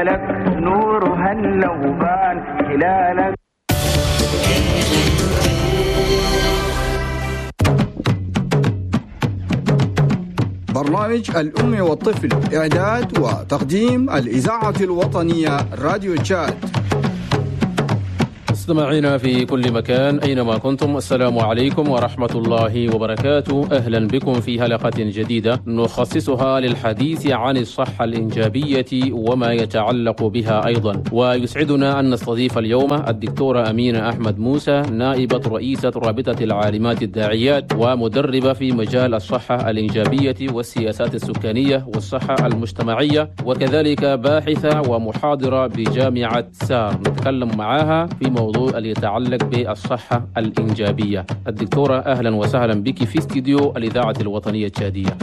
جلالك نور هلا وبان هلالك. برنامج الأم والطفل، إعداد وتقديم الإذاعة الوطنية راديو تشاد. مستمعينا في كل مكان أينما كنتم، السلام عليكم ورحمة الله وبركاته. أهلا بكم في حلقة جديدة نخصصها للحديث عن الصحة الإنجابية وما يتعلق بها أيضا. ويسعدنا أن نستضيف اليوم الدكتورة أمينة أحمد موسى، نائبة رئيسة رابطة العالمات الداعيات ومدربة في مجال الصحة الإنجابية والسياسات السكانية والصحة المجتمعية، وكذلك باحثة ومحاضرة بجامعة سار. نتكلم معها في موضوع اللي يتعلق بالصحة الإنجابية. الدكتورة أهلا وسهلا بك في استديو الإذاعة الوطنية التشادية.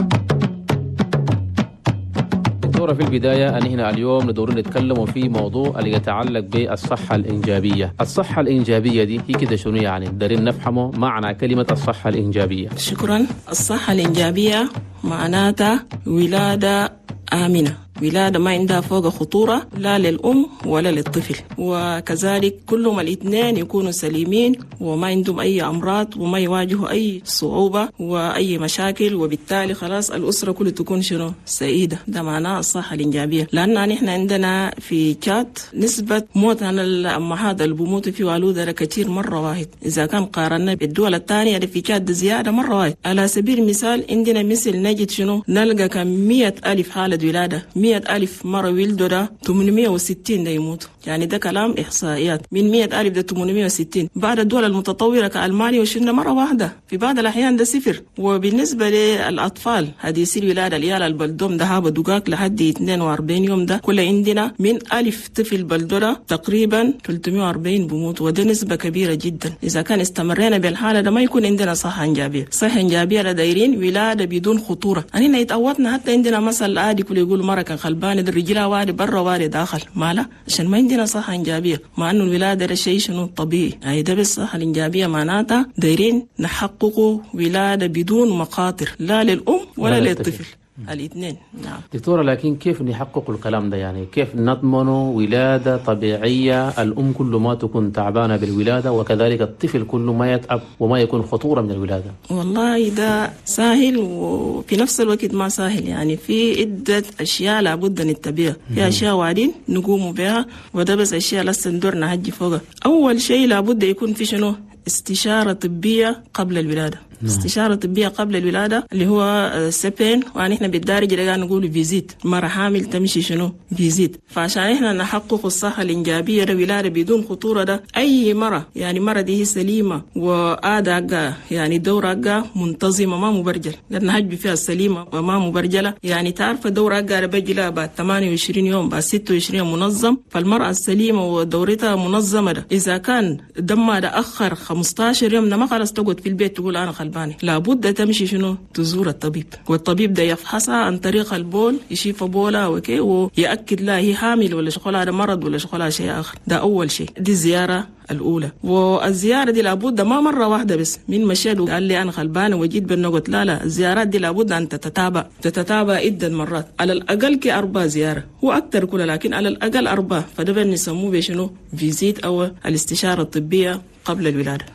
دكتورة، في البداية أن هنا اليوم ندور نتكلم في موضوع اللي يتعلق بالصحة الإنجابية. الصحة الإنجابية دي هي كده شنو يعني؟ دارين نفهمه معنى كلمة الصحة الإنجابية. شكرا. الصحة الإنجابية معناتها ولادة آمنة، ولادة ما عندها فوق خطورة لا للأم ولا للطفل، وكذلك كلهم الاثنين يكونوا سليمين وما عندهم أي أمراض وما يواجهوا أي صعوبة وأي مشاكل، وبالتالي خلاص الأسرة كلها تكون شنو سعيدة. ده معناه الصحة الإنجابية. لأن نحن عندنا في تشاد نسبة موت عن الأمهات اللي بموتوا في والودة كثير مرة واحد، إذا كان قارنا بالدول الثانية اللي في تشاد زيادة مرة واحد. على سبيل المثال عندنا مثل نجد شنو نلقى كم 100,000 حالة ولادة، 100,000 مرة ولدوا ده 860 ده يموتوا. يعني ده كلام إحصائيات، من 100,000 ده 860. بعد الدول المتطورة كألمانيا وشلنا مرة واحدة، في بعض الأحيان ده صفر. وبالنسبة للأطفال حديثي الولادة العيال البلدوم ده هابا دقاق لحد 42 يوم، ده كل عندنا من 1000 طفل بلدورة تقريبا 340 بموت، وده نسبة كبيرة جدا. إذا كان استمرينا بالحالة ده ما يكون عندنا صحة إنجابية. صحة إنجابية دايرين ولادة بدون خطورة. أننا يتعودنا حتى عندنا مثل عادي كل يقول مرة كان خلبان ده رجلها وارد برا وارد داخل مالا، عشان ما عندنا صحة إنجابية، مع إنه الولادة ده شيء شنو طبيعي. يعني ده بالصحة الإنجابية معناتها دايرين نحقق ولادة بدون مخاطر لا للأم ولا للطفل الاثنين. نعم دكتورة، لكن كيف نحقق الكلام ده؟ يعني كيف نضمن ولادة طبيعية، الأم كل ما تكون تعبانة بالولادة وكذلك الطفل كل ما يتعب وما يكون خطورة من الولادة؟ والله ده سهل وفي نفس الوقت ما سهل. يعني في عدة أشياء لابد نتبعها، في أشياء وعدين نقوم بها، وده بس أشياء لسه ندور نهجي فوقها. أول شيء لابد يكون في شنو استشارة طبية قبل الولادة. استشارة طبية قبل الولادة اللي هو CPN، ونحن بالدارجة اللي نقول visite. مرة حامل تمشي شنو visite. فعشان احنا نحقق الصحة الإنجابية ده ولادة بدون خطورة، ده أي مرة يعني مرة دي هي سليمة وآداء يعني دورة منتظمة ما مبرجل، لأن هجب فيها السليمة وما مبرجلة. يعني تعرف دورة بيجي لها بعد 28 يوم بعد 26 يوم منظم. فالمرأة السليمة ودورتها منظمة ده إذا كان دمها ده أخر 15 يوم ما خلاص تقعد في البيت تقول أنا خلبانة، لابد تمشي شنو تزور الطبيب، والطبيب ده يفحصها عن طريق البول، يشوف بولها okay ويأكد لها هي حامل ولا شغلها ده مرض ولا شغلها شيء آخر. ده أول شيء، دي الزيارة الأولى. والزيارة دي لابد ما مرة واحدة بس من مشيت وقال لي أنا خلبانة وجيت بالنقط، لا لا، الزيارات دي لابد أن تتتابع عدة مرات، على الأقل كأربع زيارة، هو أكثر كله لكن على الأقل 4. فده بنسموه بشنو visite أو الاستشارة الطبية قبل الولادة.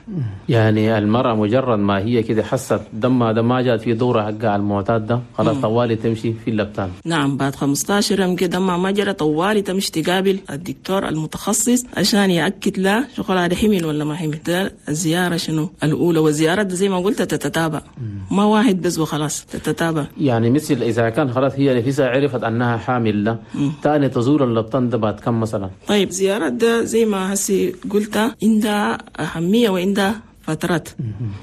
يعني المرأة مجرد ما هي كده حست دمها ده ما جات في دورة حقها المعتاد ده خلاص طوالي تمشي في اللبتان. نعم، بعد 15 يوم كده دمها ما جرى طوالي تمشي تقابل الدكتور المتخصص عشان يأكد لها شغل هذا حمل ولا ما حمل. ده الزيارة شنو الأولى، والزيارة زي ما قلت تتتابع، ما واحد بس وخلاص، تتتابع. يعني مثل إذا كان خلاص هي نفسها عرفت أنها حامل ده تاني تزور اللبتان ده بعد كم مثلا؟ طيب زيارة ده زي ما هسي قلت عندها أهمية وعندها فترات.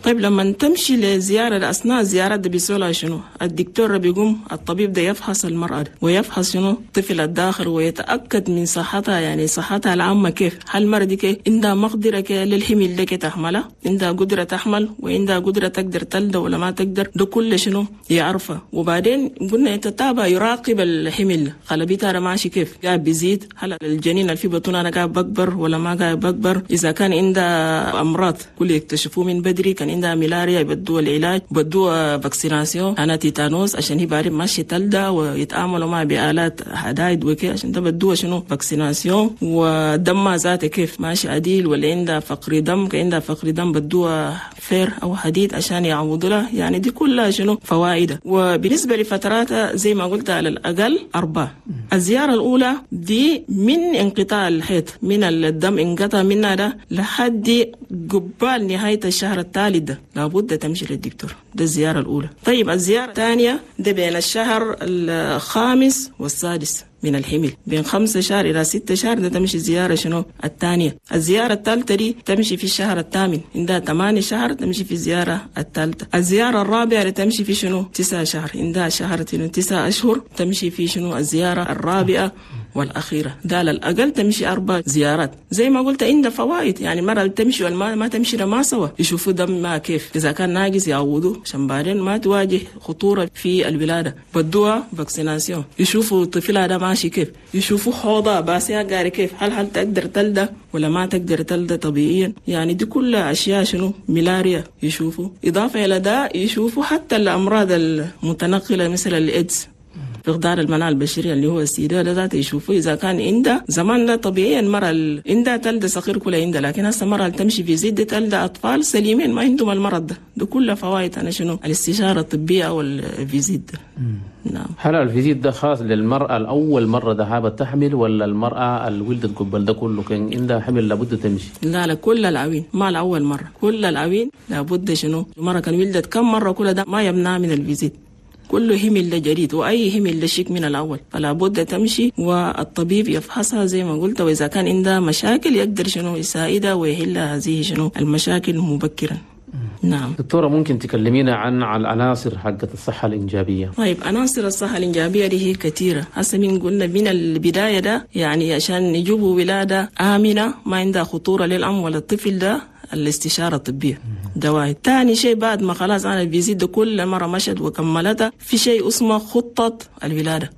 طيب لما تمشي لزيارة أثناء الزيارة ده بيسألها شنو الدكتور بيقوم الطبيب ده يفحص المرأة ويفحص شنو الطفل الداخل ويتأكد من صحتها، يعني صحتها العامة كيف، هل المرأة دي كيف عندها مقدرة للحمل ده تحملها، عندها قدرة تحمل وعندها قدرة تقدر تلد ولا ما تقدر، ده كل شنو يعرفه. وبعدين قلنا يتتابع يراقب الحمل، خلبيتها ماشي كيف، قاعد بيزيد، هل الجنين اللي في بطنها قاعد بكبر ولا ما قاعد بكبر، إذا كان عندها أمراض كل يكتشفوه من بدري. كان عندها ملاريا يبدوا العلاج، بدوا vaccination أنا تيتانوس عشان هي بعدين ماشي تلدى ويتعاملوا مع بآلات حدايد وكي عشان ده بدوها شنو vaccination. ودمها ذاته كيف ماشي عديل، ولا عندها فقر دم، كان عندها فقر دم بدوها fer أو حديد عشان يعوضوا لها. يعني دي كلها شنو فوائد. وبالنسبة لفتراتها زي ما قلت على الأقل 4. الزيارة الأولى دي من انقطاع الحيض، من الدم انقطع منها ده لحد قبال نهاية الشهر الثالث ده لابد تمشي للدكتور، ده الزيارة الأولى. طيب الزيارة الثانية ده بين الشهر الخامس والسادس من الحمل، بين 5 شهر إلى 6 شهر ده تمشي زيارة شنو الثانية. الزيارة الثالثة دي تمشي في الشهر الثامن، عندها 8 شهر تمشي في الزيارة الثالثة. الزيارة الرابعة تمشي في شنو 9 شهر، عندها شهر 9 أشهر تمشي في شنو الزيارة الرابعة والأخيرة. ده على الأقل تمشي 4 زيارات. زي ما قلت عندها فوائد، يعني مرة تمشي والما ما تمشي ما سوا، يشوفوا دم ما كيف، إذا كان ناقص يعوضوه عشان بعدين ما تواجه خطورة في الولادة. بدوها vaccination، يشوفوا طفلها ده ماشي كيف، يشوفوا حوضها باسيها قاري كيف، هل تقدر تلدى ولا ما تقدر تلدى طبيعيا. يعني دي كلها أشياء شنو ملاريا يشوفوا. إضافة إلى ده يشوفوا حتى الأمراض المتنقلة مثل الإيدز، فقدان المناعة البشرية اللي هو السيدة ده ذاته يشوفوه إذا كان عندها. زمان لا طبيعيا المرأة عندها تلدى صغير كلها عندها، لكن هسه المرأة تمشي في زيد تلدى أطفال سليمين ما عندهم المرض ده. ده كله فوائد أنا شنو الاستشارة الطبية أو ال visite. نعم. هل ال visite ده خاص للمرأة الأول مرة ذهابت تحمل، ولا المرأة اللي ولدت قبل ده كله كان عندها حمل لابد تمشي؟ لا لا، كل العوين ما الأول مرة، كل العوين لابد شنو المرأة كان ولدت كم مرة كل ده ما يمنع من ال visite. كله همل لجريد وأي همل لشيك من الأول، فلا بد تمشي والطبيب يفحصها زي ما قلت، وإذا كان عندها مشاكل يقدر شنو يساعدها ويحل هذه شنو المشاكل مبكرا. نعم. دكتورة ممكن تكلمينا عن العناصر حقت الصحة الإنجابية؟ طيب عناصر الصحة الإنجابية دي هي كثيرة. هسه من قلنا من البداية ده يعني عشان يجيبوا ولادة آمنة ما عندها خطورة للأم ولا الطفل ده الاستشارة الطبية ده واحد. تاني شيء بعد ما خلاص أنا ال visite ده كل مرة مشت وكملتها، في شيء اسمه خطة الولادة،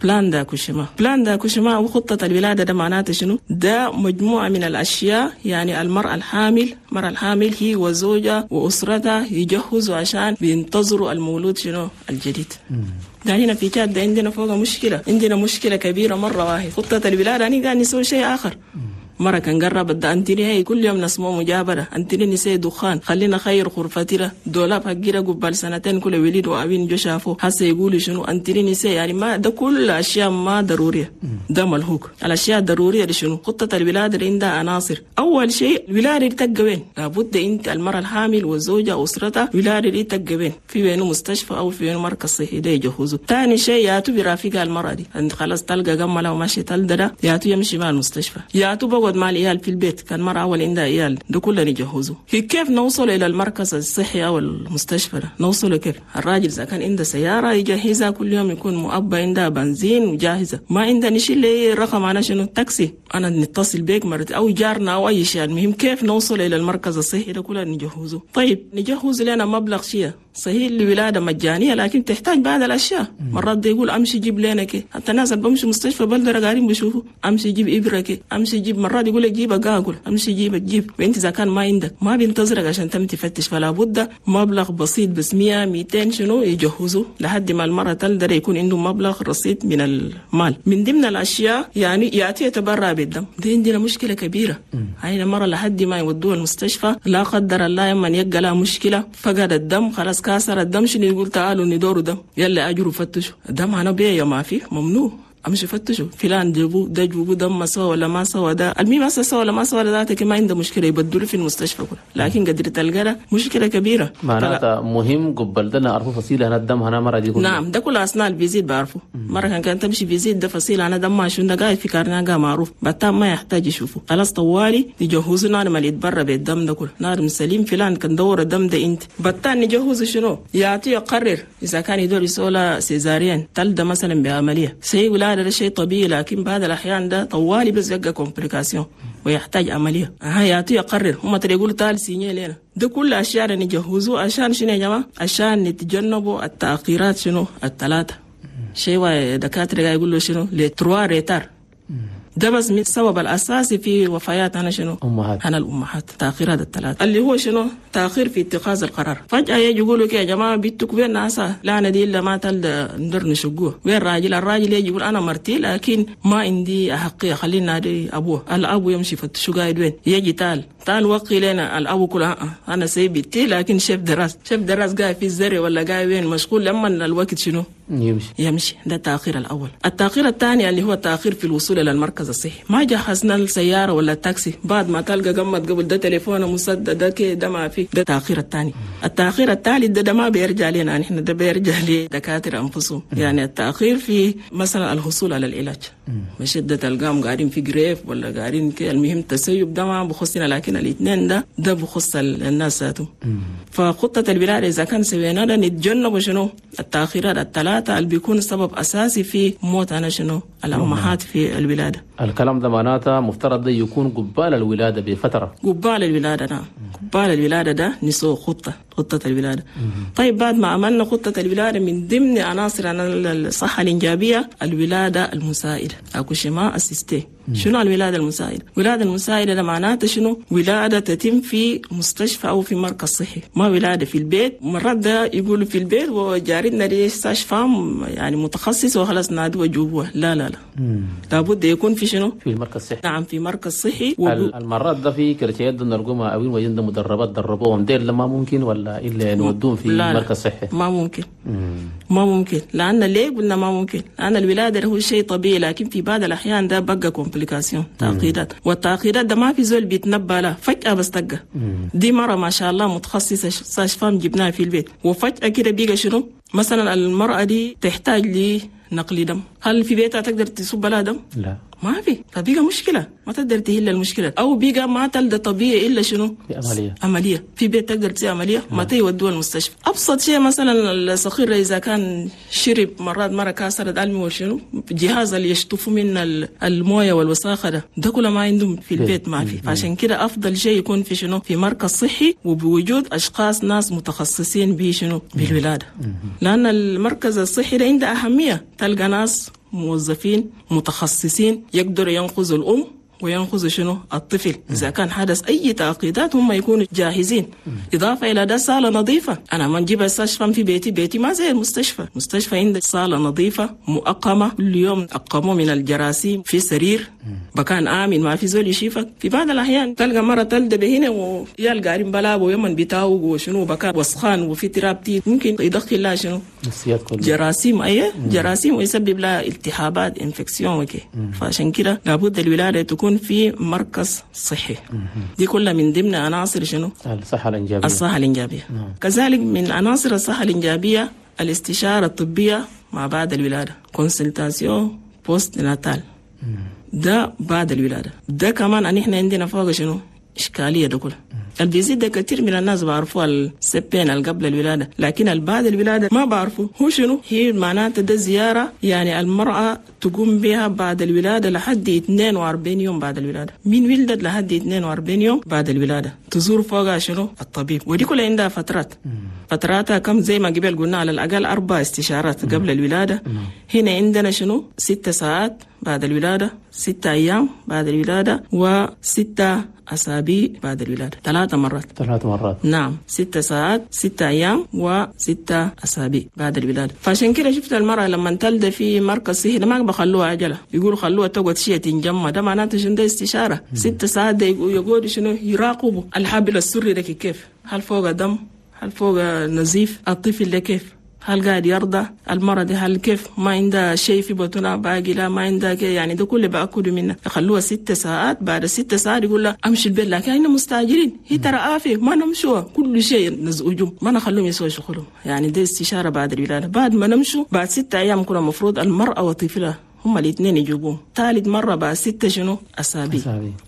plan d'accouchement. plan d'accouchement وخطة الولادة ده معناته شنو؟ ده مجموعة من الأشياء يعني المرأة الحامل، المرأة الحامل هي وزوجها وأسرتها يجهزوا عشان بينتظروا المولود شنو الجديد. ده هنا في تشاد ده عندنا فوق مشكلة، عندنا مشكلة كبيرة مرة واحد. خطة الولادة أنا قاعد نسوي شيء آخر. مرة كان قرب ده أنتني هي كل يوم نسمو مجابرة، أنتني نسي دخان، خلينا خير غرفتنا دولاب حقيرة قبل سنتين كل وليد وأبين جو شافوه هسه يقولوا شنو أنتني نسي. يعني ما ده كل أشياء ما ضرورية، ده ملهوك. الأشياء الضرورية دي شنو؟ خطة الولادة اللي عندها عناصر. أول شيء الولادة دي تبقى وين؟ لابد أنت المرأة الحامل والزوجة وأسرتها الولادة دي تبقى وين؟ في وين مستشفى أو في وين مركز صحي ده يجهزوا. ثاني شيء ياتو برافقها المرأة دي، أنت خلاص تلقى جملة وماشي تلدى ده ياتو يمشي مع المستشفى، ياتو بقعد مع العيال في البيت، كان مرة أول عندها عيال ده كله نجهزه. كيف نوصل إلى المركز الصحي أو المستشفى ده؟ نوصله كيف؟ الراجل إذا كان عنده سيارة يجهزها كل يوم، يكون مؤبى عندها بنزين وجاهزة، ما عنده نشيل لي رقم أنا شنو تاكسي، أنا نتصل بيك مرة أو جارنا أو أي شيء. المهم كيف نوصل إلى المركز الصحي ده كله نجهزه. طيب نجهز لنا مبلغ شيء صحيح الولادة مجانية لكن تحتاج بعض الأشياء. مرات ده يقول أمشي جيب لنا كي، حتى الناس اللي بمشي مستشفى بلدرة قاعدين بيشوفوا أمشي جيب إبرة كي، أمشي جيب، مرات يقول لك جيب أقاقل، أمشي جيب تجيب، وأنت إذا كان ما عندك ما بينتظرك عشان تم تفتش. فلا بد مبلغ بسيط بس 100 200 شنو يجهزوا لحد ما المرة تلدر يكون عنده مبلغ رصيد من المال. من ضمن الأشياء يعني يأتي يتبرع بالدم، دي عندنا مشكلة كبيرة. هاي المرة لحد ما يودوها المستشفى لا قدر الله يما يلقى لها مشكلة فقد الدم خلاص كسر الدم شنو يقول تعالوا ندوروا دم، يلا أجروا فتشوا الدم أنا بيا ما فيه ممنوع، امشي فتشوا فلان جيبوا ده جيبوا دم ما سوى ولا ما سوى ده، المهم ما سوى ولا ما سوى ذاتك ما عنده مشكله يبدلوا في المستشفى كله، لكن قدر تلقى مشكله كبيره. معناتها مهم قبل ده نعرفوا فصيله هنا الدم هنا مره دي. نعم ده كله اثناء ال visite بعرفه. مره كان تمشي visite ده فصيله انا دم ما شو ده قاعد في carnet معروف بتام ما يحتاج يشوفه خلاص طوالي يجهزوا نار ما يتبرى بالدم ده كله نار سليم فلان كان دور الدم ده انت بتان نجهزوا شنو يعطي يقرر اذا كان يدور يسولا césarienne تلده مثلا بعمليه سي ولا ده شيء طبيعي، لكن بعض الأحيان ده طوالي بس يبقى complication ويحتاج عملية. يعطي يقرر هم ترى يقولوا تعال signer لنا ده كل أشياء نجهزوه عشان شنو يا جماعة؟ عشان نتجنبوا التأخيرات شنو الثلاثة شيء دكاترة يقولوا شنو les trois retards. ده بس من السبب الأساسي في وفيات أنا شنو؟ أمهات. أنا الأمهات، تأخير هذا الثلاثة اللي هو شنو؟ تأخير في اتخاذ القرار. فجأة يجي يقولوا يا جماعة بنتك وين ناسا؟ لا أنا دي إلا ما تلد ندر نشقوه. وين راجل؟ الراجل يجي يقول أنا مرتي لكن ما عندي أحقية، خلينا نادي أبوه. الأبو يمشي فتشو قاعد وين؟ يجي تعال وقي لنا الأبو كله أنا سايب بنتي لكن شيف دراس قاعد في الزرع ولا قاعد وين مشغول، لما الوقت شنو؟ يمشي. ده التأخير الأول. التأخير الثاني اللي هو التأخير في الوصول إلى المركز الصحي. ما جهزنا السيارة ولا التاكسي، بعد ما تلقى قمت قبل ده تليفونه مسدد ده كده ما في. ده التأخير الثاني. التأخير الثالث ده ما بيرجع لنا نحن، ده بيرجع لدكاترة أنفسهم. يعني التأخير في مثلا الحصول على العلاج، مش ده تلقاهم قاعدين في جريف ولا قاعدين كده. المهم التسيب ده ما بخصنا، لكن الاثنين ده بخص الناس ذاتهم. فخطة الولادة إذا كان سوينا ده نتجنب شنو التأخيرات الثلاثة اللي بيكون سبب أساسي في موت أنا شنو الأمهات في الولادة. الكلام ده معناته مفترض ده يكون قبال الولادة بفترة. قبال الولادة نعم، قبال الولادة ده نسوي خطة الولادة. طيب بعد ما عملنا خطة الولادة، من ضمن عناصر الصحة الإنجابية الولادة المساعدة، accouchement assisté. شنو الولادة المساعدة؟ الولادة المساعدة ده معناته شنو؟ ولادة تتم في مستشفى أو في مركز صحي، ما ولادة في البيت. مرات ده يقولوا في البيت وجارتنا دي sage-femme يعني متخصص وخلاص نادوا وجوبوه. لا لا لا، لابد يكون في شنو؟ في المركز الصحي. نعم، في مركز صحي. المرات ده في كرتيات نرقمها أو وجدنا مدربات دربوهم ديل لما ممكن ولا إلا نودوهم في مركز صحي؟ ما ممكن. ما ممكن. لأن ليه قلنا ما ممكن؟ لأن الولادة هو شيء طبيعي، لكن في بعض الأحيان ده بقى complication، تعقيدات، والتعقيدات ده ما في زول بيتنبأ له، فجأة بس تقى. دي مرة ما شاء الله متخصصة sage-femme جبناها في البيت، وفجأة كده بيقى شنو؟ مثلا المرأة دي تحتاج لنقل دم، هل في بيتها تقدر تصب لها دم؟ لا، ما في. فبيقى مشكلة، ما تقدر تهل المشكلة، أو بيقى ما تلد طبيعي إلا شنو؟ عملية. في بيت تقدر تسوي عملية؟ ما تيودوها المستشفى. أبسط شيء مثلا الصغير إذا كان شرب مرات مرة كسرت ألمي وشنو جهاز اللي يشطفوا من الموية والوساخة ده كله ما عندهم في البيت، ما في. فعشان كده أفضل شيء يكون في شنو؟ في مركز صحي، وبوجود أشخاص ناس متخصصين بشنو؟ بالولادة. لأن المركز الصحي ده عنده أهمية، تلقى ناس موظفين متخصصين يقدروا ينقذوا الأم وينقذوا شنو الطفل. إذا كان حدث أي تعقيدات هم يكونوا جاهزين. إضافة إلى ده صالة نظيفة. أنا ما نجيب sage-femme في بيتي ما زي المستشفى. المستشفى عندك صالة نظيفة مؤقمة، كل يوم أقموا من الجراثيم، في سرير مكان آمن ما في زول يشيفك. في بعض الأحيان تلقى مرة تلد بهنا ويلقى قارين بلاب ويمن بتاوق وشنو بكان وسخان وفي تراب تي ممكن يدخل لها شنو جراثيم، أيه جراثيم، ويسبب لها التهابات infection وكي. فعشان كده لابد الولادة تكون في مركز صحي. دي كلها من ضمن عناصر شنو؟ الصحة الإنجابية. الصحة الإنجابية. كذلك من عناصر الصحة الإنجابية الاستشارة الطبية مع بعد الولادة، consultation postnatale. ده بعد الولادة. ده كمان أن إحنا عندنا فوق شنو؟ إشكالية ده كله. ال visite ده كثير من الناس بعرفوها ال CPN اللي قبل الولادة، لكن بعد الولادة ما بعرفوا هو شنو هي. معناته ده زيارة يعني المرأة تقوم بها بعد الولادة لحد 42 يوم بعد الولادة، من ولدت لحد 42 يوم بعد الولادة تزور فوقها شنو الطبيب. ودي كلها عندها فترات، فتراتها كم زي ما قبل قلنا على الأقل 4 استشارات قبل الولادة. هنا عندنا شنو 6 ساعات بعد الولادة، 6 أيام بعد الولادة، و6 أسابيع بعد الولادة. 3 مرات. 3 مرات. نعم، 6 ساعات، 6 أيام، و6 أسابيع بعد الولادة. فعشان كده شفت المرأة لما تلد في مركز صحي ما بخلوها عجلة، يقولوا خلوها تقعد شيء تنجمع، ده معناته شنو؟ ده استشارة. 6 ساعات ده يقعدوا شنو؟ يراقبوا الحبل السري ده كيف، هل فوق دم، هل فوق نزيف، الطفل ده كيف، هل قاعد يرضى المرض، هل كيف ما عنده شيء في بطنه باقي، لا ما عنده يعني ده كله بأكله منه. يخلوها 6 ساعات، بعد 6 ساعات يقول لها امشي البيت، لكن احنا مستعجلين، هي ترى آفة ما نمشوا كل شيء نزعجهم، ما نخلوهم يسووا شغلهم. يعني ده استشارة بعد الولادة. بعد ما نمشوا بعد 6 أيام كنا المفروض المرأة وطفلها هم الاثنين يجيبوهم. ثالث مرة بعد 6 شنو أسابيع.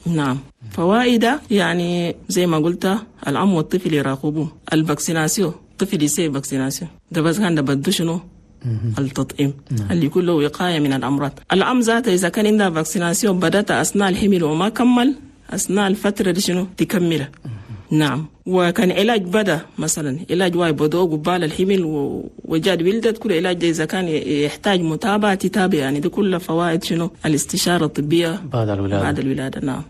نعم. فوائد يعني زي ما قلت الأم والطفل يراقبوه. ال vaccination، الطفل يسوي vaccination ده بس كان ده بدو شنو التطعيم اللي يكون له وقاية من الأمراض. الأم ذاتها إذا كان عندها vaccination بدأت أثناء الحمل وما كمل أثناء الفترة دي شنو تكملها. نعم. وكان علاج بدا مثلا علاج واي بدو قبال الحمل وجاد ولدت، كل علاج ده إذا كان يحتاج متابعة تتابع، يعني دي كل فوائد شنو الاستشارة الطبية بعد الولادة. بعد الولادة نعم.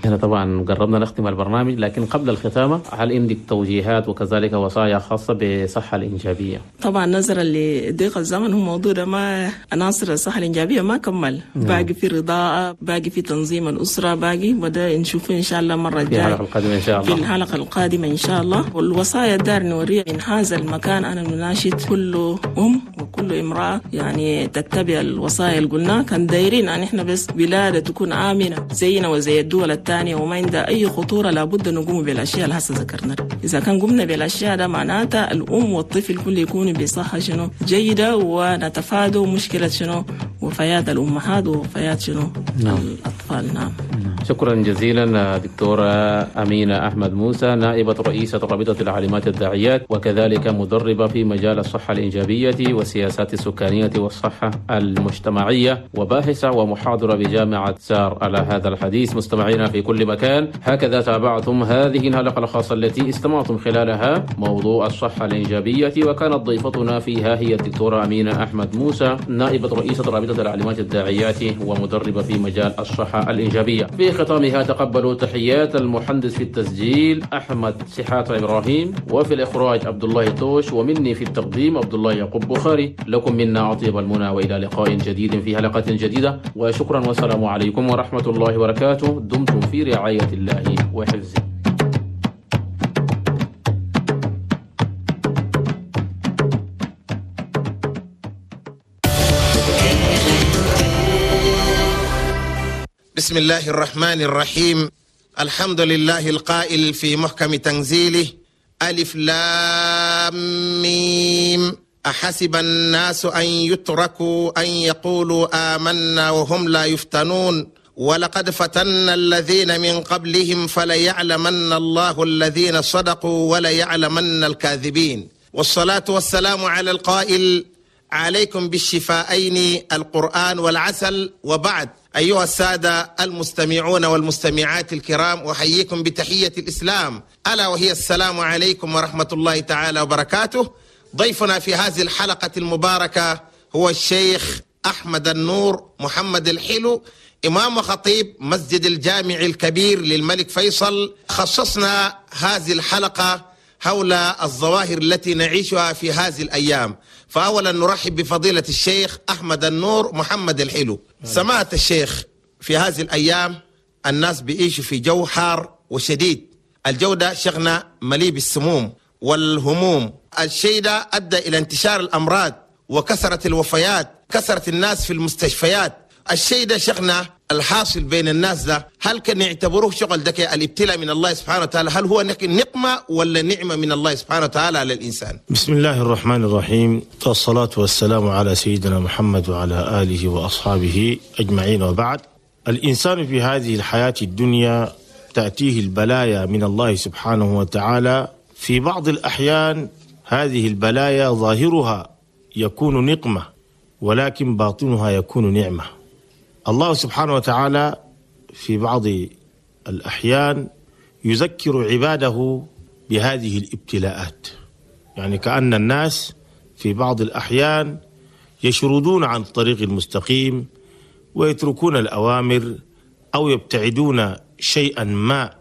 هنا طبعا قربنا نختم البرنامج، لكن قبل الختامة هل عندك توجيهات وكذلك وصايا خاصة بالصحة الإنجابية؟ طبعا نظرا لضيق الزمن هو موضوع ده ما عناصر الصحة الإنجابية ما كمل. باقي في رضاعة، باقي في تنظيم الأسرة، باقي وده نشوفه إن شاء الله مرة في الحلقة القادمة إن شاء الله. في الحلقة القادمة إن شاء الله. والوصايا الدار نوريها من هذا المكان، أنا نناشد كل أم وكل امرأة يعني تتبع الوصايا اللي قلناها. كان دايرين أن إحنا بس ولادة تكون آمنة زينا وزي الدول الثانية وما عندها أي خطورة، لابد نقوم بالأشياء اللي هسه ذكرنا. إذا كان قمنا بالأشياء ده معناتها الأم والطفل كل يكونوا بصحة شنو جيدة، ونتفادوا مشكلة شنو وفيات الأمهات ووفيات شنو الأطفال. نعم. شكرا جزيلا دكتورة أمينة أحمد موسى، نائبة رئيسة رابطة العالمات الداعيات وكذلك مدربة في مجال الصحة الإنجابية والسياسات السكانية والصحة المجتمعية، وباحثة ومحاضرة بجامعة سار. على هذا الحديث مستمعينا في كل مكان، هكذا تابعتم هذه الحلقة الخاصة التي استمعتم خلالها موضوع الصحة الإنجابية، وكانت ضيفتنا فيها هي الدكتورة أمينة أحمد موسى، نائبة رئيسة رابطة العالمات الداعيات ومدربة في مجال الصحة الإنجابية. في ختامها تقبلوا تحيات المهندس في التسجيل أحمد سحات إبراهيم، وفي الإخراج عبد الله توش، ومني في التقديم عبد الله يعقوب بخاري. لكم منا أطيب المنى، وإلى لقاء جديد في حلقة جديدة، وشكرا والسلام عليكم ورحمة الله وبركاته. دمتم في رعاية الله وحفظه. بسم الله الرحمن الرحيم. الحمد لله القائل في محكم تنزيله: ألف لام ميم، أحسب الناس أن يتركوا أن يقولوا آمنا وهم لا يفتنون، ولقد فتنا الذين من قبلهم فليعلمن الله الذين صدقوا وليعلمن الكاذبين. والصلاة والسلام على القائل: عليكم بالشفاءين القرآن والعسل. وبعد، أيها السادة المستمعون والمستمعات الكرام، أحييكم بتحية الإسلام، ألا وهي السلام عليكم ورحمة الله تعالى وبركاته. ضيفنا في هذه الحلقة المباركة هو الشيخ أحمد النور محمد الحلو، إمام وخطيب مسجد الجامع الكبير للملك فيصل. خصصنا هذه الحلقة حول الظواهر التي نعيشها في هذه الأيام. فأولا نرحب بفضيلة الشيخ أحمد النور محمد الحلو. سمعت الشيخ، في هذه الأيام الناس بيعيشوا في جو حار وشديد، الجو ده شغنا مليء بالسموم والهموم، الشيء ده أدى إلى انتشار الأمراض وكثرة الوفيات، كثرة الناس في المستشفيات. الشيء ده شغنا الحاصل بين الناس ده، هل كان يعتبروه شغل ده الابتلاء من الله سبحانه وتعالى؟ هل هو نقمة ولا نعمة من الله سبحانه وتعالى على الإنسان؟ بسم الله الرحمن الرحيم، والصلاة والسلام على سيدنا محمد وعلى آله وأصحابه أجمعين، وبعد. الإنسان في هذه الحياة الدنيا تأتيه البلايا من الله سبحانه وتعالى. في بعض الأحيان هذه البلايا ظاهرها يكون نقمة، ولكن باطنها يكون نعمة. الله سبحانه وتعالى في بعض الأحيان يذكر عباده بهذه الابتلاءات، يعني كأن الناس في بعض الأحيان يشردون عن الطريق المستقيم ويتركون الأوامر أو يبتعدون شيئا ما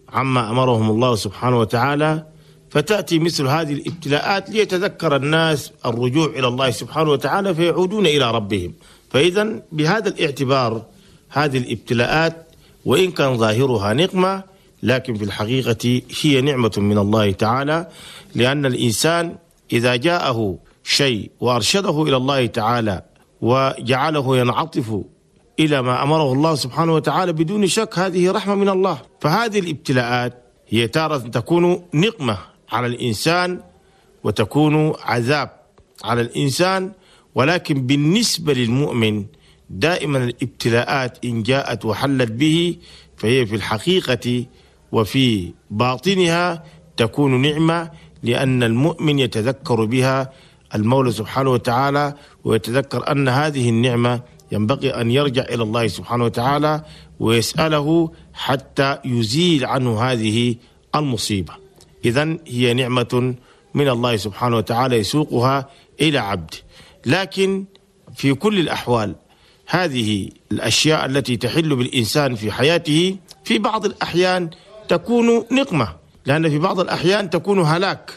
عما أمرهم الله سبحانه وتعالى، فتأتي مثل هذه الابتلاءات ليتذكر الناس الرجوع إلى الله سبحانه وتعالى فيعودون إلى ربهم. فإذا بهذا الاعتبار هذه الابتلاءات وإن كان ظاهرها نقمة، لكن في الحقيقة هي نعمة من الله تعالى، لأن الإنسان إذا جاءه شيء وأرشده إلى الله تعالى وجعله ينعطف إلى ما أمره الله سبحانه وتعالى، بدون شك هذه رحمة من الله. فهذه الابتلاءات هي تارة تكون نقمة على الإنسان وتكون عذاب على الإنسان، ولكن بالنسبة للمؤمن دائما الابتلاءات إن جاءت وحلت به فهي في الحقيقة وفي باطنها تكون نعمة، لأن المؤمن يتذكر بها المولى سبحانه وتعالى، ويتذكر أن هذه النعمة ينبغي أن يرجع إلى الله سبحانه وتعالى ويسأله حتى يزيل عنه هذه المصيبة. إذن هي نعمة من الله سبحانه وتعالى يسوقها إلى عبد. لكن في كل الأحوال هذه الأشياء التي تحل بالإنسان في حياته في بعض الأحيان تكون نقمة، لأن في بعض الأحيان تكون هلاك،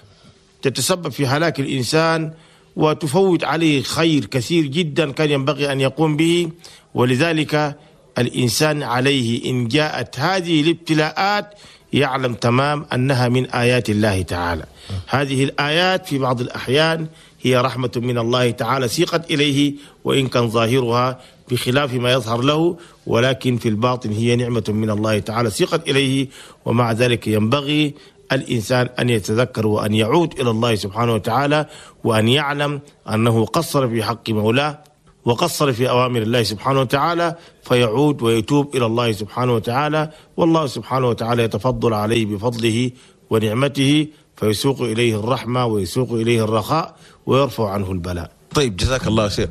تتسبب في هلاك الإنسان وتفوت عليه خير كثير جدا كان ينبغي أن يقوم به. ولذلك الإنسان عليه إن جاءت هذه الابتلاءات يعلم تمام أنها من آيات الله تعالى. هذه الآيات في بعض الأحيان هي رحمة من الله تعالى سيقت إليه، وإن كان ظاهرها بخلاف ما يظهر له، ولكن في الباطن هي نعمة من الله تعالى سيقت إليه. ومع ذلك ينبغي الإنسان أن يتذكر وأن يعود إلى الله سبحانه وتعالى، وأن يعلم أنه قصر في حق مولاه وقصر في أوامر الله سبحانه وتعالى، فيعود ويتوب إلى الله سبحانه وتعالى، والله سبحانه وتعالى يتفضل عليه بفضله ونعمته، فيسوق إليه الرحمة ويسوق إليه الرخاء ويرفع عنه البلاء. طيب، جزاك الله خير.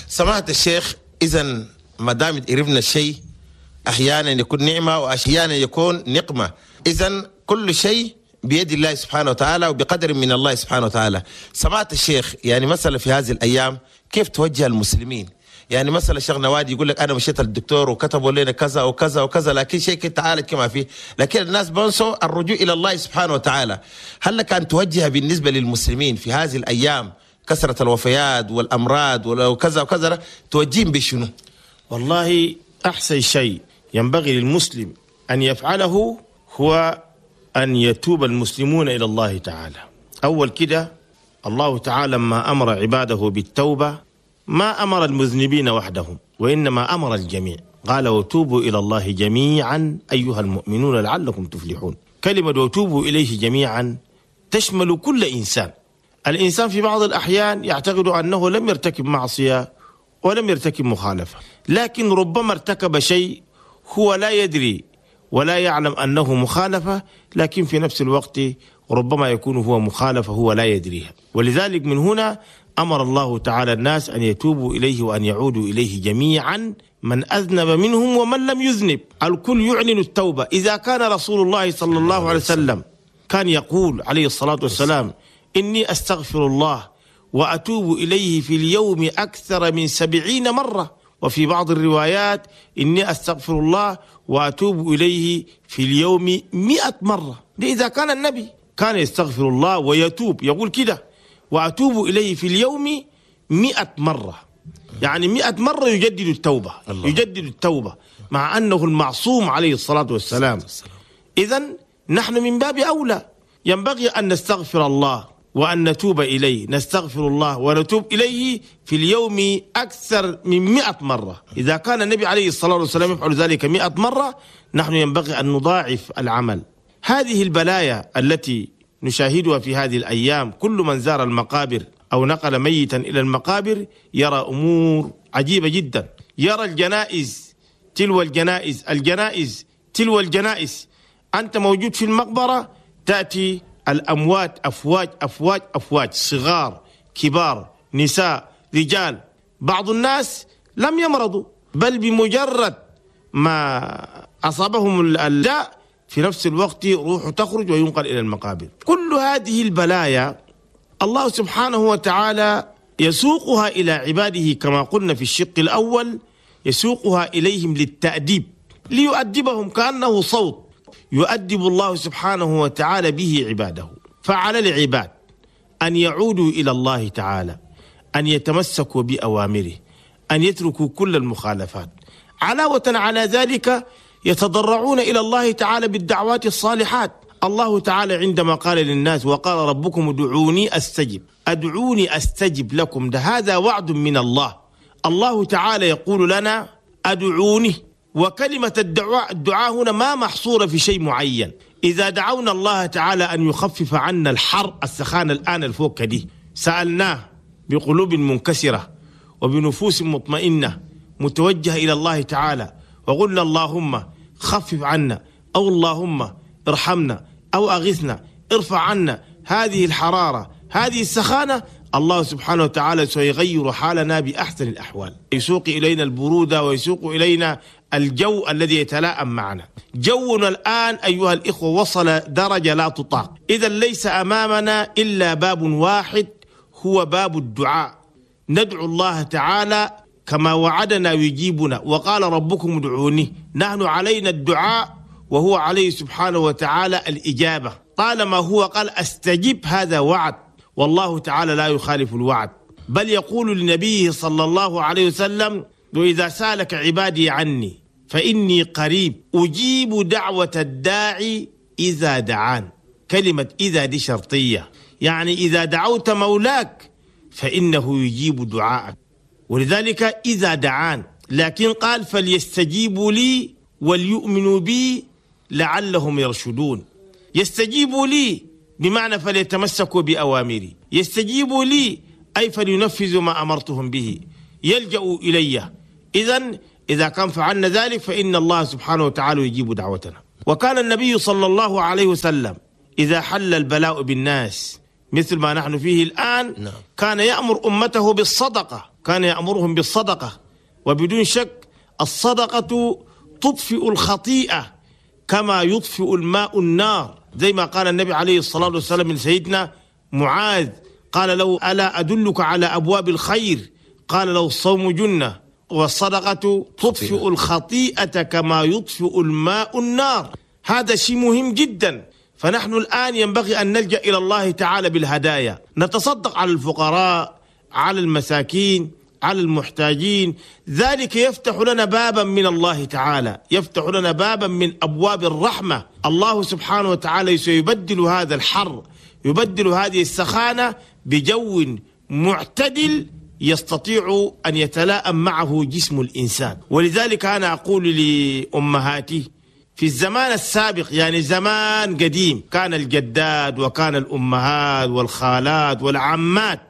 سماحة الشيخ، إذا ما دام عرفنا الشيء أحيانا يكون نعمة وأحيانا يكون نقمة، إذا كل شيء بيد الله سبحانه وتعالى وبقدر من الله سبحانه وتعالى. سماحة الشيخ، يعني مثلا في هذه الأيام كيف توجه المسلمين؟ يعني مثلا الشيخ نوادي يقول لك أنا مشيت للدكتور وكتبوا لنا كذا وكذا وكذا، لكن شيء كنت تعالج كما فيه، لكن الناس بنسوا الرجوع إلى الله سبحانه وتعالى. هل لك أن توجه بالنسبة للمسلمين في هذه الأيام كثرة الوفيات والأمراض وكذا وكذا، توجههم بشنو؟ والله أحسن شيء ينبغي للمسلم أن يفعله هو أن يتوب المسلمون إلى الله تعالى. أول كده الله تعالى لما أمر عباده بالتوبة ما أمر المذنبين وحدهم، وإنما أمر الجميع. قال وتوبوا إلى الله جميعا أيها المؤمنون لعلكم تفلحون. كلمة وتوبوا إليه جميعا تشمل كل إنسان. الإنسان في بعض الأحيان يعتقد أنه لم يرتكب معصية ولم يرتكب مخالفة، لكن ربما ارتكب شيء هو لا يدري ولا يعلم أنه مخالفة، لكن في نفس الوقت ربما يكون هو مخالفة هو لا يدريها. ولذلك من هنا أمر الله تعالى الناس أن يتوبوا إليه وأن يعودوا إليه جميعا، من أذنب منهم ومن لم يذنب، الكل يعلن التوبة. إذا كان رسول الله صلى الله عليه وسلم كان يقول عليه الصلاة والسلام إني أستغفر الله وأتوب إليه في اليوم أكثر من 70 مرة، وفي بعض الروايات إني أستغفر الله وأتوب إليه في اليوم 100 مرة. إذا كان النبي كان يستغفر الله ويتوب، يقول كده وأتوب إليه في اليوم 100 مرة، يعني 100 مرة يجدد التوبة، يجدد التوبة، مع أنه المعصوم عليه الصلاة والسلام. إذن نحن من باب أولى ينبغي أن نستغفر الله وأن نتوب إليه، نستغفر الله ونتوب إليه في اليوم أكثر من 100 مرة. إذا كان النبي عليه الصلاة والسلام يفعل ذلك 100 مرة، نحن ينبغي أن نضاعف العمل. هذه البلايا التي نشاهدها في هذه الأيام، كل من زار المقابر أو نقل ميتا إلى المقابر يرى أمور عجيبة جدا. يرى الجنائز تلو الجنائز، الجنائز تلو الجنائز. أنت موجود في المقبرة تأتي الأموات أفواج أفواج أفواج، صغار كبار، نساء رجال. بعض الناس لم يمرضوا، بل بمجرد ما أصابهم الداء في نفس الوقت روح تخرج وينقل إلى المقابر. كل هذه البلايا الله سبحانه وتعالى يسوقها إلى عباده، كما قلنا في الشق الأول، يسوقها إليهم للتأديب، ليؤدبهم، كأنه صوت يؤدب الله سبحانه وتعالى به عباده. فعلى العباد أن يعودوا إلى الله تعالى، أن يتمسكوا بأوامره، أن يتركوا كل المخالفات. علاوة على ذلك يتضرعون إلى الله تعالى بالدعوات الصالحات. الله تعالى عندما قال للناس وقال ربكم ادعوني أستجب، أدعوني أستجب لكم، ده هذا وعد من الله. الله تعالى يقول لنا أدعوني، وكلمة الدعاء هنا ما محصورة في شيء معين. إذا دعونا الله تعالى أن يخفف عنا الحر، السخانة الآن الفوق دي، سألناه بقلوب منكسرة وبنفوس مطمئنة متوجهة إلى الله تعالى، وقلنا اللهم خفف عنا، أو اللهم ارحمنا، أو أغثنا، ارفع عنا هذه الحرارة، هذه السخانة، الله سبحانه وتعالى سيغير حالنا بأحسن الأحوال، يسوق إلينا البرودة ويسوق إلينا الجو الذي يتلائم معنا. جونا الآن أيها الإخوة وصل درجة لا تطاق. إذا ليس أمامنا إلا باب واحد، هو باب الدعاء. ندعو الله تعالى كما وعدنا يجيبنا، وقال ربكم ادعوني. نحن علينا الدعاء وهو عليه سبحانه وتعالى الإجابة. طالما هو قال أستجب، هذا وعد، والله تعالى لا يخالف الوعد، بل يقول لنبيه صلى الله عليه وسلم: وإذا سألك عبادي عني فإني قريب أجيب دعوة الداعي إذا دعان. كلمة إذا دي شرطية، يعني إذا دعوت مولاك فإنه يجيب دعاءك، ولذلك إذا دعان. لكن قال فليستجيبوا لي وليؤمنوا بي لعلهم يرشدون. يستجيبوا لي بمعنى فليتمسكوا بأوامري، يستجيبوا لي أي فلينفذوا ما أمرتهم به، يلجأوا إلي. إذن إذا كان فعلنا ذلك فإن الله سبحانه وتعالى يجيب دعوتنا. وكان النبي صلى الله عليه وسلم إذا حل البلاء بالناس مثل ما نحن فيه الآن، كان يأمر أمته بالصدقة، كان يأمرهم بالصدقة. وبدون شك الصدقة تطفئ الخطيئة كما يطفئ الماء النار، زي ما قال النبي عليه الصلاة والسلام لسيدنا معاذ، قال له: ألا أدلك على أبواب الخير؟ قال له: الصوم جنة والصدقة تطفئ الخطيئة كما يطفئ الماء النار. هذا شيء مهم جدا. فنحن الآن ينبغي أن نلجأ إلى الله تعالى بالهدايا، نتصدق على الفقراء، على المساكين، على المحتاجين. ذلك يفتح لنا بابا من الله تعالى، يفتح لنا بابا من أبواب الرحمة. الله سبحانه وتعالى سيبدل هذا الحر، يبدل هذه السخانة بجو معتدل يستطيع أن يتلائم معه جسم الإنسان. ولذلك أنا أقول لأمهاتي في الزمان السابق، يعني زمان قديم، كان الجداد وكان الأمهات والخالات والعمات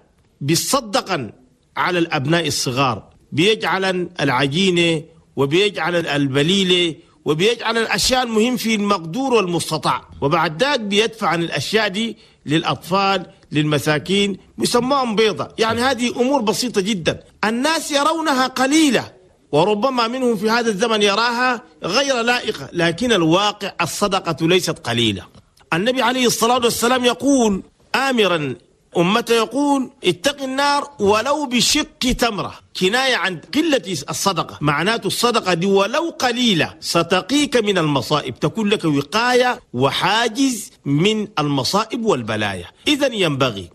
بيصدقا على الأبناء الصغار، بيجعل العجينة وبيجعل البليلة وبيجعل الأشياء المهم في المقدور والمستطاع، وبعد ذلك بيدفع عن الأشياء دي للأطفال للمساكين، بيسموهم بيضة. يعني هذه أمور بسيطة جدا الناس يرونها قليلة، وربما منهم في هذا الزمن يراها غير لائقة، لكن الواقع الصدقة ليست قليلة. النبي عليه الصلاة والسلام يقول آمرا أمته، يقول: اتق النار ولو بشق تمرة، كناية عن قلة الصدقة. معناته الصدقة دي ولو قليلة ستقيك من المصائب، تكون لك وقاية وحاجز من المصائب والبلايا. إذن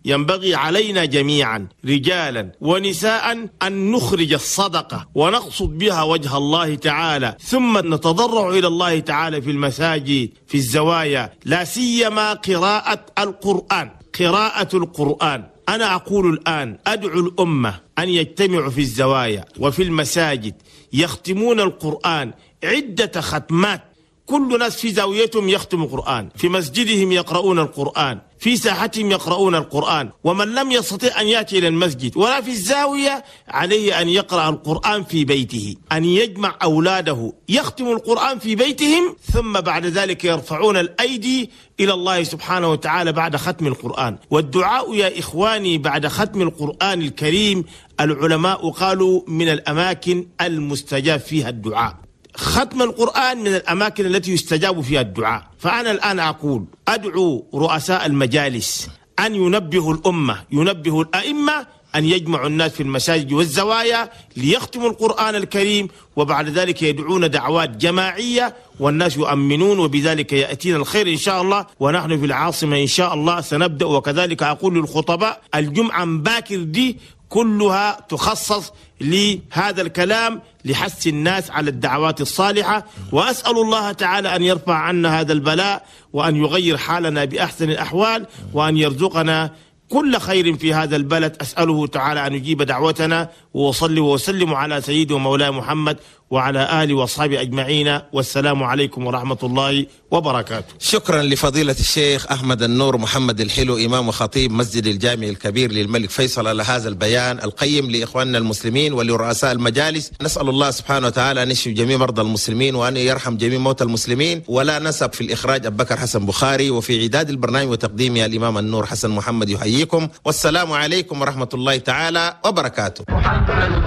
ينبغي علينا جميعا رجالا ونساء أن نخرج الصدقة ونقصد بها وجه الله تعالى، ثم نتضرع إلى الله تعالى في المساجد، في الزوايا، لا سيما قراءة القرآن. قراءة القرآن، أنا أقول الآن أدعو الأمة أن يجتمعوا في الزوايا وفي المساجد يختمون القرآن عدة ختمات، كل ناس في زاويتهم يختم القرآن، في مسجدهم يقرؤون القرآن، في ساحتهم يقرؤون القرآن. ومن لم يستطيع أن يأتي إلى المسجد ولا في الزاوية عليه أن يقرأ القرآن في بيته، أن يجمع أولاده يختم القرآن في بيتهم، ثم بعد ذلك يرفعون الأيدي إلى الله سبحانه وتعالى بعد ختم القرآن. والدعاء يا إخواني بعد ختم القرآن الكريم، العلماء قالوا من الأماكن المستجاب فيها الدعاء. ختم القرآن من الأماكن التي يستجاب فيها الدعاء. فأنا الآن أقول أدعو رؤساء المجالس أن ينبهوا الأمة، ينبهوا الأئمة أن يجمعوا الناس في المساجد والزوايا ليختموا القرآن الكريم، وبعد ذلك يدعون دعوات جماعية والناس يؤمنون، وبذلك يأتينا الخير إن شاء الله. ونحن في العاصمة إن شاء الله سنبدأ. وكذلك أقول للخطباء الجمعة باكر دي كلها تخصص لهذا الكلام لحث الناس على الدعوات الصالحة. وأسأل الله تعالى أن يرفع عنا هذا البلاء، وأن يغير حالنا بأحسن الأحوال، وأن يرزقنا كل خير في هذا البلد. أسأله تعالى أن يجيب دعوتنا، وأصلي وأسلم على سيدي ومولاي محمد وعلى آله وأصحابه أجمعين، والسلام عليكم ورحمة الله وبركاته. شكرا لفضيلة الشيخ أحمد النور محمد الحلو، إمام وخطيب مسجد الجامع الكبير للملك فيصل، على هذا البيان القيم لإخواننا المسلمين ولرؤساء المجالس. نسأل الله سبحانه وتعالى أن يشفي جميع مرضى المسلمين وأن يرحم جميع موتى المسلمين. ولا نسب في الإخراج أبو بكر حسن بخاري، وفي إعداد البرنامج وتقديمه الإمام النور حسن محمد يحييكم، والسلام عليكم ورحمة الله تعالى وبركاته.